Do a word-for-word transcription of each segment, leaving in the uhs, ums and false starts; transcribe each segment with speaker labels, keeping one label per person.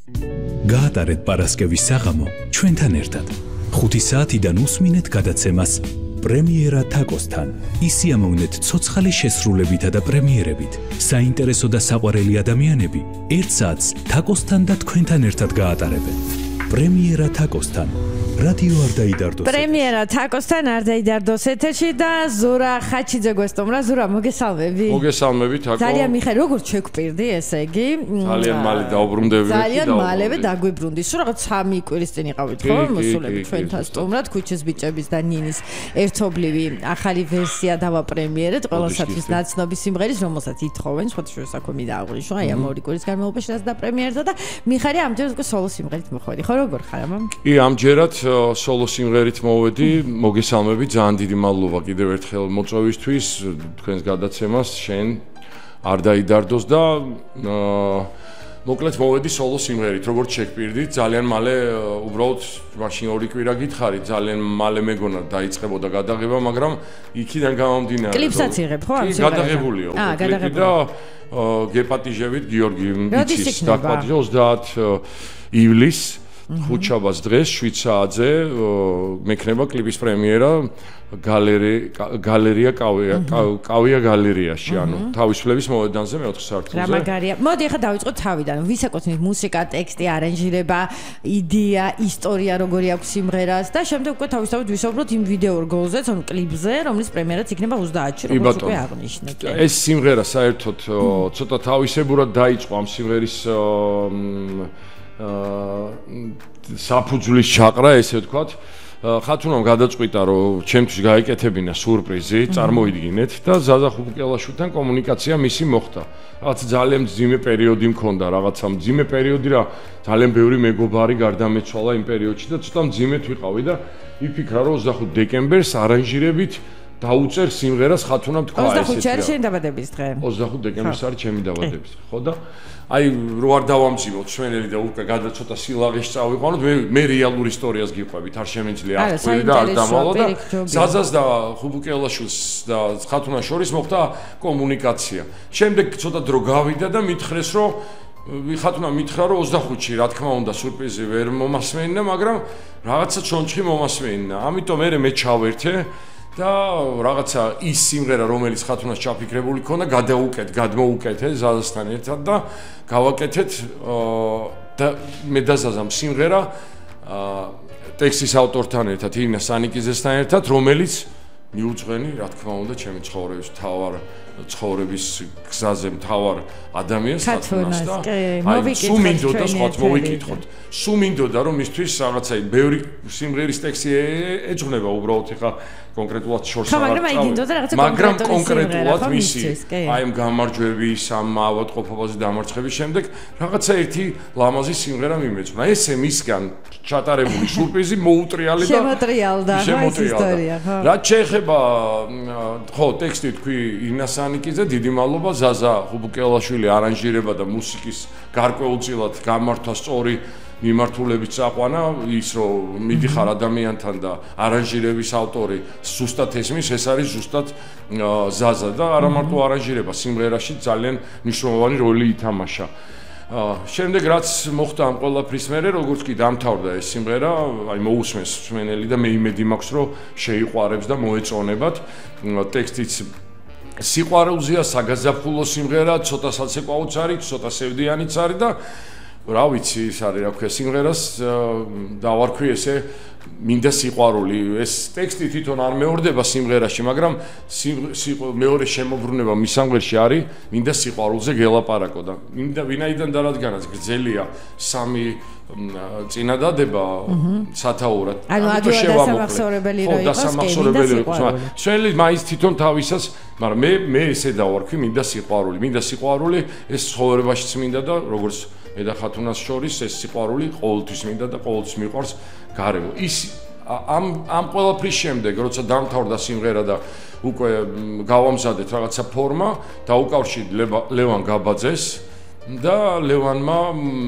Speaker 1: გაატარეთ პარასკევის საღამო ჩვენთან ერთად. ხუთი საათიდან უსმინეთ გადაცემას პრემიერა თაკოსთან. ისიამოვნეთ ცოცხალი შესრულებითა და პრემიერებით. საინტერესო და საყვარელი ადამიანები ერთ საათს თაკოსთან და თქვენთან ერთად გაატარებენ. პრემიერა თაკოსთან. რადიო არ დაიდარდოს.
Speaker 2: პრემიერა თაკოსთან არ დაიდარდოს ეთერში და ზურა ხაჩიძე გვესტუმრა. ზურა, მოგესალმები.
Speaker 3: მოგესალმები თაკო.
Speaker 2: ძალიან მიხარ, როგორც შეგვპირდი, ესე იგი.
Speaker 3: ძალიან მალე დაუბრუნდები.
Speaker 2: ძალიან მალევე დაგვიბრუნდი. სულ რაღაც სამი კვირის წინ იყავით, ხო? მოსულები ჩვენთან სტუმრად, ქუჩის ბიჭების და ნინის ერთობლივი ახალი ვერსია დავაპრემიერეთ. ყველასათვის ნაცნობი სიმღერის, რომელსაც ითხოვენ, სხვადასხვა საქმე დააღვნიშნო. აი ამ ორი კვირის განმავლობაში რაც დაპრემიერდა და მიხარი ამჯერად უკვე სოლო სიმღერით მოხვედი. ხო, როგორ ხარ ამამ?
Speaker 3: კი, ამჯერად სოლო სიმღერით მოვედი. მოგესალმები, ძალიან დიდი მადლობა კიდევ ერთხელ მოწვევისთვის, თქვენს გადაცემას, შენ არ დაიდარდოს და მოკლედ მოვედი სოლო სიმღერით, როგორც შეგვპირდით, ძალიან მალე უბრალოდ მაშინ ორი კვირა გითხარი, ძალიან მალე მეგონა დაიწყებოდა გადაღება, მაგრამ იქიდან გამომდინარე.
Speaker 2: კლიპსაც იღებ, ხო, ამ სიმღერას?
Speaker 3: გადაღებულია.
Speaker 2: აა, გადაღებული.
Speaker 3: და გეპატიჟებით გიორგი მიცის დაპატიჟა ოცდაათ ივლისს. ხუთშაბათს დღეს შვიდ საათზე მექნება კლიპის პრემიერა გალერეა კავია კავია გალერეაში, ანუ თავისუფლების მოედანზე მეოთხე სართულზე.
Speaker 2: რა მაგარია. მოდი ახლა დავიწყოთ თავიდან. ვისაკუთვნით მუსიკა, ტექსტი, არანჟირება, იდეა, ისტორია როგორი აქვს სიმღერას და შემდეგ უკვე თავისთავად ვისაუბროთ იმ ვიდეო რგოლზეც, ანუ კლიპზე, რომლის პრემიერაც იქნება ოცდაათში, როგორც უკვე აღნიშნეთ.
Speaker 3: ეს სიმღერა საერთოდ ცოტა თავისებურად დაიწყო ამ სიმღერის საფუძვლის ჩაყრა, ესე ვთქვათ. ხათუნამ გადაწყვიტა, რომ ჩემთვის გაეკეთებინა სურპრიზი, წარმოიდგინეთ და ზაზა ხუბუკელაშვილთან კომუნიკაცია მისი მოხდა. რაღაც ძალიან მძიმე პერიოდი მქონდა, რაღაცა მძიმე პერიოდი რა, ძალიან ბევრი მეგობარი გარდამეცვალა იმ პერიოდში და ცოტა მძიმედ ვიყავი და იფიქრა, რომ ოცდახუთ დეკემბერს არანჟირებით დაუწერ სიმღერას ხათუნამ თქვა ესეთი.
Speaker 2: ოცდახუთი არის შენი დაბადების დღე.
Speaker 3: ოცდახუთ დეკემბერს არის ჩემი დაბადების დღე, ხო და აი რო არ დავამძიმოთ ჩვენელი და უკვე გადა ცოტა სილაღეში წავიყვანოთ, მე მე რეალურ ისტორიას გიყვებით, არ შემიძლია აღკვირი და არ დამავალ და ზაზას და ხუბუკელაშვილს და ხათუნას შორის მოხდა კომუნიკაცია. შემდეგ ცოტა დრო გავიდა და მითხრეს, რომ ხათუნა მითხრა, რომ ოცდახუთში რა თქმა უნდა სურპრიზი ვერ მომასმენინა, მაგრამ რაღაცა ჩონჩხი მომასმენინა. ამიტომ მე მე ჩავერთე და რაღაცა ის სიმღერა, რომელიც ხათუნას ჩაფიქრებული ქონდა, გადაუკეთ, გადმოუკეთე ზაზასთან ერთად და გავაკეთეთ და მე და ზაზამ სიმღერა ტექსტის ავტორთან ერთად, ირინა სანიკიძესთან ერთად, რომელიც მიუძღვენი, რა თქმა უნდა, ჩემი ცხოვრების მთავარ ცხოვრების გზაზე მთავარ ადამიანს ხათუნას და აი სულ მინდოდა სხვათ მოვიკითხოთ. სულ მინდოდა რომ მისთვის რაღაცა ბევრი სიმღერის ტექსტი ეძღვნება უბრალოდ ხა კონკრეტულად შორს აღარ მაგრამ კონკრეტულად მისი აი ამ გამარჯვების ამ ავადმყოფობაზე დამარცხების შემდეგ რაღაცა ერთი ლამაზი სიმღერა მიმეწვნა. ესე მისგან ჩატარებული სურპრიზი მოუტრიალე და
Speaker 2: შემოტრიალდა ეს ისტორია, ხო?
Speaker 3: რაც შეეხება ხო ტექსტი თქვი ირინას ანიკიძე, დიდი მადლობა ზაზა ხუბუკელაშვილი არანჟირება და მუსიკის გარკვეულწილად გამართვა სწორი მიმართულებით წაყვანა, ის რომ მიდიხარ ადამიანთან და არანჟირების ავტორი ზუსტად ესმის, ეს არის ზუსტად ზაზა და არა მარტო არანჟირება, სიმღერაში ძალიან მნიშვნელოვანი როლი ითამაშა. შემდეგ რაც მოხდა ამ ყველაფრის მერე, როგორც კი დამთავრდა ეს სიმღერა, აი მოусმენს მსმენელი და მე იმედი მაქვს, რომ შეიყვარებს და მოეწონებათ. ტექსტიც სიყვარულზეა, საგაზაფხულო სიმღერა, ცოტა საცეკვაოც არის, ცოტა სევდიანიც არის და რა ვიცი, ის არის რა ქვია სიმღერას დავარქვი ესე მინდა სიყვარული. ეს ტექსტი თვითონ არ მეორდება სიმღერაში, მაგრამ მეორე შემოbrunება მის სამღერში არის მინდა სიყვარულზე გელაპარაკო და მინდა ვინაიდან და რადგანაც გრძელია 삼ი წინადადება სათაურად.
Speaker 2: ანუ ადვადასამახსოვრებელი რო იყოს,
Speaker 3: დასამახსოვრებელი იყო. შენლი მაინც თვითონ თავისას, მაგრამ მე მე ესე დავარქვი მინდა სიყვარული. მინდა სიყვარული ეს ცხოვრებაშიც მინდა და როგორც მე და ხათუნას შორის ეს სიყვარული ყოველთვის მინდა და ყოველთვის მიყვარს გარემო. ის ამ ამ ყველაფრის შემდეგ, როცა დამთავრდა სიმღერა და უკვე გავამზადეთ რაღაცა ფორმა, დაუკავშირდი ლევან გაბაძეს და ლევანმა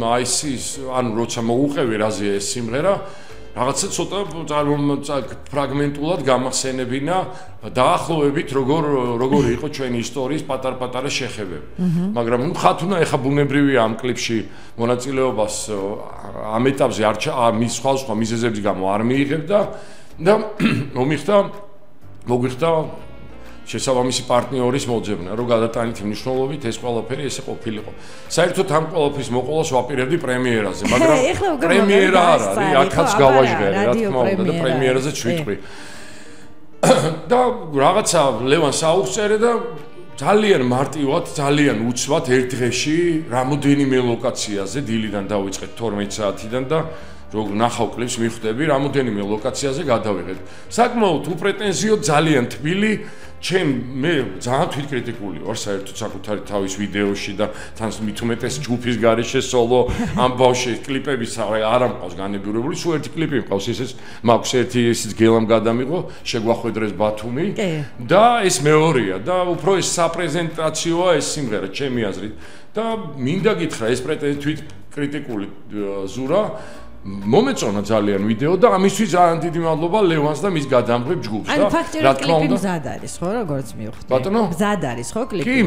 Speaker 3: აი ის ანუ როცა მოუყევი რაზეა ეს სიმღერა, რაღაცა ცოტა ფრაგმენტულად გამახსენებინა დაახლოებით როგორ როგორი იყო ჩვენი ისტორიის პატარ-პატარა შეხებები. მაგრამ ნუ ხათუნა ეხა ბუნებრივია ამ კლიპში მონაწილეობას ამ ეტაპზე არ მის სხვა მიზეზების გამო არ მიიღებდა და მომიხდა მოგვიხდა შესაბამისი პარტნიორის მოძებნა, რომ გადატანით მნიშვნელობით ეს ყველაფერი ესე ყოფილიყო. საერთოდ ამ ყველაფრის მოყოლას ვაპირებდი პრემიერაზე, მაგრამ პრემიერა არ არის, აქაც გავაჟღერე, რა თქმა უნდა, და პრემიერაზეც ვიტყვი. და რაღაცა ლევანს აუწერე და ძალიან მარტივად, ძალიან უცბად ერთ დღეში რამოდენიმე ლოკაციაზე დილიდან დავიწყეთ თორმეტ საათიდან და როგორ ნახავ კლიპს მიხვდები, რამოდენიმე ლოკაციაზე გადავიღეთ. საკმაოდ უპრეტენზიო, ძალიან თბილი ჩემ მე ძალიან თვითკრიტიკული ვარ საერთოდ საკუთარი თავის ვიდეოში და თან მით უმეტეს ჯგუფის გარეშე სოლო ამ ბავშვის კლიპების არ ამყავს განებიურებული, სულ ერთი კლიპი მყავს, ისიც მაქვს ერთი ისიც გელამ გადამიღო, შეგვახვედრეს ბათუმი და ეს მეორეა და უფრო ეს საპრეზენტაციოა ეს სიმღერა ჩემი აზრით და მინდა გითხრა ეს თვითკრიტიკული ზურა მომეწონა ძალიან ვიდეო და ამისთვის ძალიან დიდი მადლობა ლევანს და მის გადამღებ ჯგუფს და
Speaker 2: რა თქმა უნდა მზად არის ხო როგორც მივხვდი
Speaker 3: ბატონო
Speaker 2: მზად არის ხო კლიპი
Speaker 3: კი